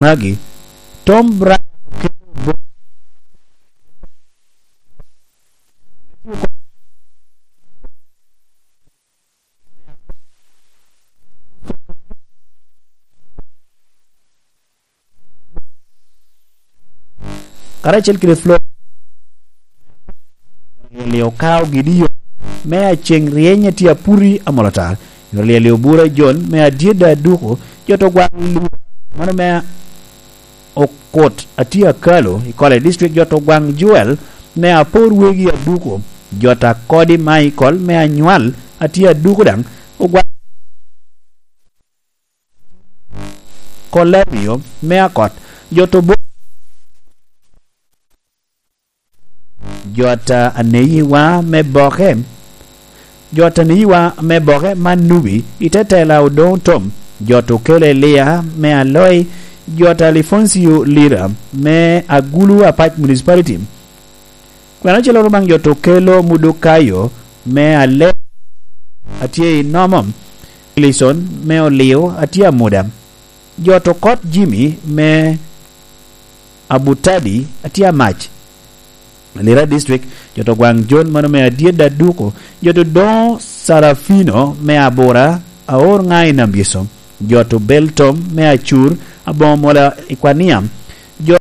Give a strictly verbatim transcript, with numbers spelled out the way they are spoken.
Magi, Tom Bryan okelo bo-, karacel kede Flo-, Lyel okaogi diyo me aceŋ ryeny a tye aputi amol ata. Yot Lyel obura Jon me adyedda aduko, jo to gwaŋ Lura, mano me Okot a tye akalo i Kole District, jo to gwaŋ Joel me apor wegi aduko, jo ta kodi Michael me anywal a tye aduko daŋ, ogwaŋ Kolemio me akot, jo to bo-, jo ta aneyiwa me boke, jo ta aneyiwa me boke man nubi, i te tela Odoŋo Tom, jo to kelo Elia me Aloi, jo ta Alifoncio Lira me Agulu Apac Municipality. Kwena ocelo Rubaŋ jo to kelo Mudukayo me Ale-, a tye i Nomo, Wilson me Olio a tye amuda, jo to kot Jimmy me Abutadi a tye amac, Lira District, jo to gwaŋ Jon mano me adyedda aduko, jo to doŋo Sarafino me Abura, aor ŋa i Nambyeso, jo to bel Tom me Acur, aboŋo mola i Kwania, jo